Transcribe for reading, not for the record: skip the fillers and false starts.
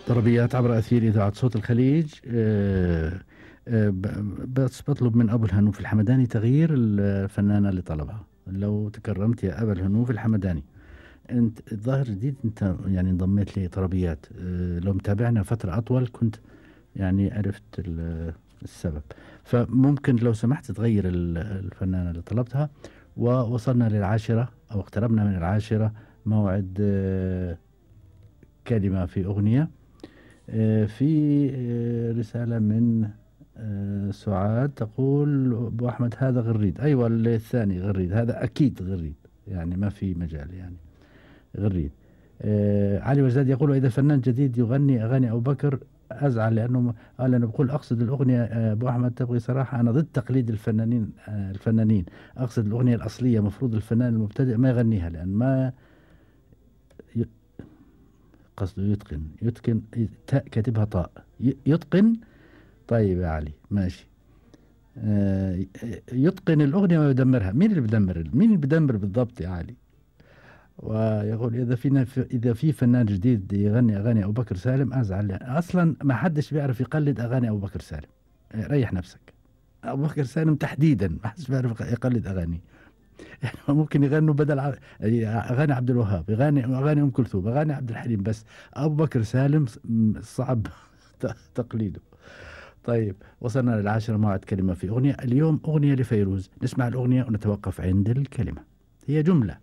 طربيات عبر أثير إذاعة صوت الخليج. بس بطلب من أبو الهنوف الحمداني تغيير الفنانة اللي طلبها. لو تكرمت يا أبا الهنوف الحمداني، أنت الظاهر جديد، أنت يعني انضميت لطربيات. لو متابعنا فترة أطول كنت يعني عرفت السبب. فممكن لو سمحت تغير الفنانة اللي طلبتها. ووصلنا للعاشرة أو اقتربنا من العاشرة، موعد كلمة في أغنية. في رسالة من سعاد تقول أبو أحمد هذا غريد. أيوة الثاني غريد، هذا أكيد غريد، يعني ما في مجال، يعني غريد. علي وزاد يقول إذا فنان جديد يغني أغاني أبو بكر أزعل، لأنه قال أنا بقول أقصد الأغنية. أبو أحمد تبغي صراحة، أنا ضد تقليد الفنانين. أقصد الأغنية الأصلية، مفروض الفنان المبتدئ ما يغنيها، لأن ما ي- قصده يتقن تاء كاتبها طاء، يتقن. طيب يا علي ماشي. يتقن الأغنية ويدمرها. مين اللي بيدمر بالضبط يا علي؟ ويقول إذا في فنان جديد يغني أغاني أبو بكر سالم أزعل، يعني أصلا ما حدش بيعرف يقلد أغاني أبو بكر سالم. ريح نفسك. أبو بكر سالم تحديدا ما حدش بيعرف يقلد أغاني. يعني ممكن يغنوا بدل أغاني عبد الوهاب، أغاني أم كلثوم، أغاني عبد الحليم، بس أبو بكر سالم صعب تقليده. طيب وصلنا للعاشرة، موعد كلمة في أغنية. اليوم أغنية لفيروز، نسمع الأغنية ونتوقف عند الكلمة. هي جملة